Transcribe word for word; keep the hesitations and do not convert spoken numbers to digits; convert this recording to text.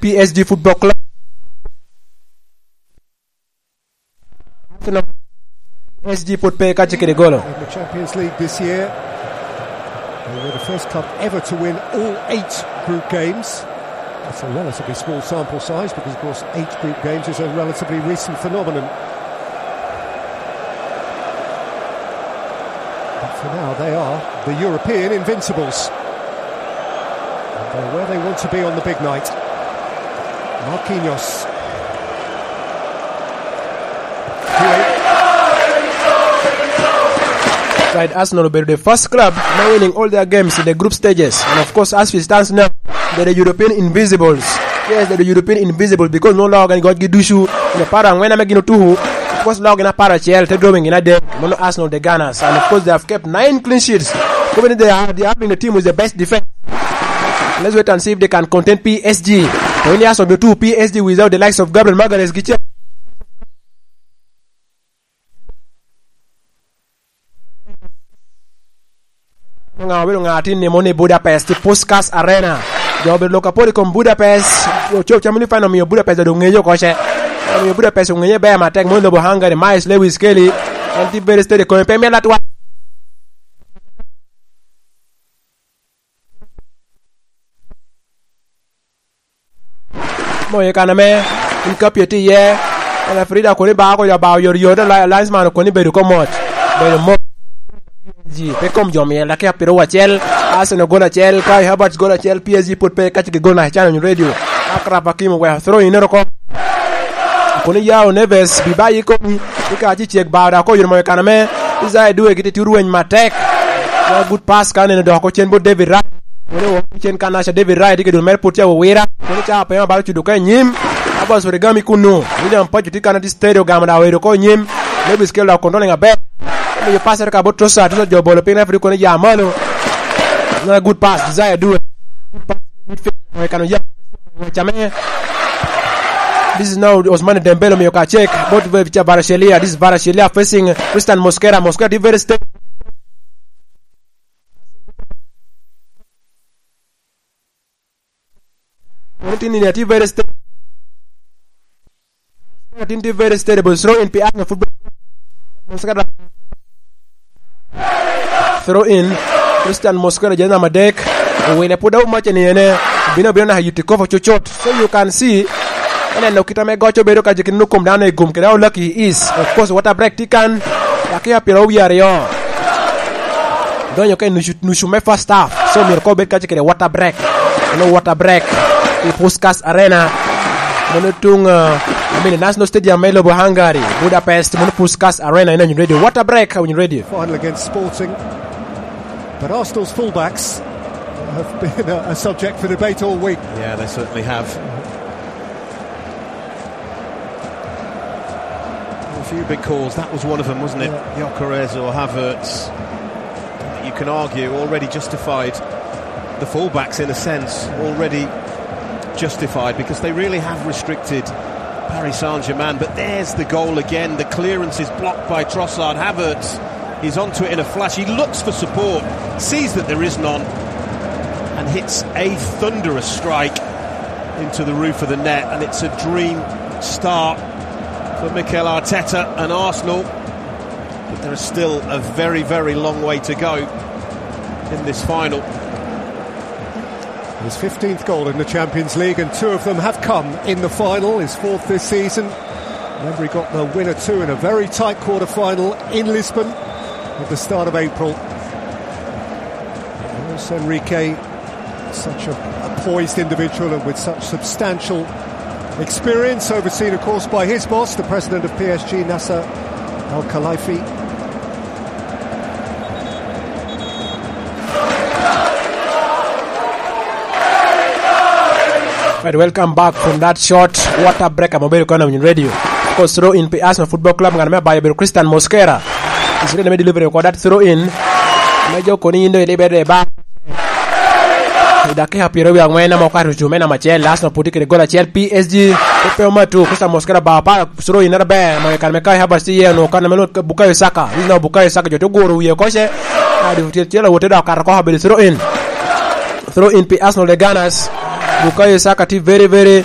P S G Football Club. P S G put pe ka cikere golo. In the Champions League this year, they were the first club ever to win all eight group games. That's a relatively small sample size because, of course, eight group games is a relatively recent phenomenon. But for now, they are the European invincibles. And they're where they want to be on the big night. Marquinhos. Side Arsenal obedo the first club now winning all their games in the group stages. And of course, as we stands now, they're the European invisibles. Yes, they're the European invisibles because no logo gin gotgi ducu. In the para angwen ame gin otuku, of course, logo gin apar acel, te drawing gin adek. Mono Arsenal, the Gunners. And of course, they have kept nine clean sheets. Even they are, they have been the team with the best defense. Let's wait and see if they can contain P S G. To in the Arsenal, the two P S G without the likes of Gabriel Magalhaes, Giche. Ŋa obedo ŋa atin ni moni Budapest, i Puskas Arena. Jo obedo lok apol i kom Budapest. Ocob cam ni fan omiyo Budapest odo ŋeyo oko ce. Omiyo Budapest oŋeye ber matek, moni lobo Hungary, Miles Lewis Kelly. En tye very steady, kome pe mel atwal. Moye kan ame in ka pye tye iye, en Frida koni ba ko ya ba oyor yor, la-, linesman koni bedo ko mot. Bedo mot. Ji, pe kom jo miel, dakika piro acel, Arsenal gol acel, Kai Havertz gol acel, P S G put pe ka cik gol na channel radio. Akrab Hakim oweko throw in ero ko. Koni Yao Neves, bi ba yi komi, ika ci cek ba da ko yur moye kan ame, Isaiah Due giti ti rweny matek. Ya good pass ka neno dok ocen bot David Raya. Wene wo cen kan aca David Raya tye ka dul mere put ca owira. Wene ca pe ma balo cudo ka i nyim. Abbas Origami kunu. William Pacho tye kan ati steady ogamo da oedo ko i nyim. Lewis Kelly dok controlling aber. Omiyo pass ere ka bot Trossard, Trossard jo bolo piny referee kono ya malo. Another good pass, Desire Due. Good pass, midfield. Oekano ya. Wacame. This is now Ousmane Dembele omiyo ka check. Bot Ve-, Vicha Varashelia. This is Varashelia facing Christian Mosquera. Mosquera tye very steady. Kono tin ni atye very steady. Tin tye very steady, but throw in pi Arsenal football. Throw in. Christian Mosquera, jezi namba adek. Owile pwod aum mac ni ene. Bino, bino naka yuti kofo cucut. So you can see, ineno kit ame goc obedo ka je kit nongo kom dano i gum kede Olaki is. Of course, water break tye kan. Dakika pyeraryo wie aryo. Donyo ka i nucu, nucu me first half. So myero ka obed kace kede water break. Ano water break i Puskas Arena. Mono tung, uh, I mean, National Stadium me lobo Hungary, Budapest, mono Puskas Arena, in Awinyo Radio. Water break, Awinyo Radio. Final against Sporting. But Arsenal's fullbacks have been a, a subject for debate all week. Yeah, they certainly have. A few big calls. That was one of them, wasn't it? Yeah. Gyökeres or Havertz. You can argue already justified. The fullbacks, in a sense, already justified because they really have restricted Paris Saint-Germain. But there's the goal again. The clearance is blocked by Trossard. Havertz is onto it in a flash. He looks for support, sees that there is none, and hits a thunderous strike into the roof of the net, and it's a dream start for Mikel Arteta and Arsenal, but there is still a very, very long way to go in this final. His fifteenth goal in the Champions League, and two of them have come in the final, his fourth this season. Remember, he got the winner too in a very tight quarter-final in Lisbon at the start of April. Luis Enrique, such a, a poised individual and with such substantial experience, overseen, of course, by his boss, the president of P S G, Nasser Al-Khelaifi. Right, welcome back from that short water break. Ame obedo kono Awinyo Radio. Of course, throw in pi Arsenal Football Club, ngat me abayo obedo Christian Mosquera. Israel me delivery ko that throw in. Me jo koni indo ilibe de ba. I dakika pyeraryo wie angwen ame okato ocume namba acel, Arsenal pwod tye kede gol acel, P S G pe omatu, Christian Mosquera bao pa throw in aber, ma i kare me Kai Havertz tye iye, onwoŋo kan ame lwongo Bukayo Saka. This is now Bukayo Saka, jo te guro wie oko ce. Ah, difutiel cel awote dok okato oko, obedo throw in. Throw in pi Arsenal, the Gunners. Bukayo Saka tye very, very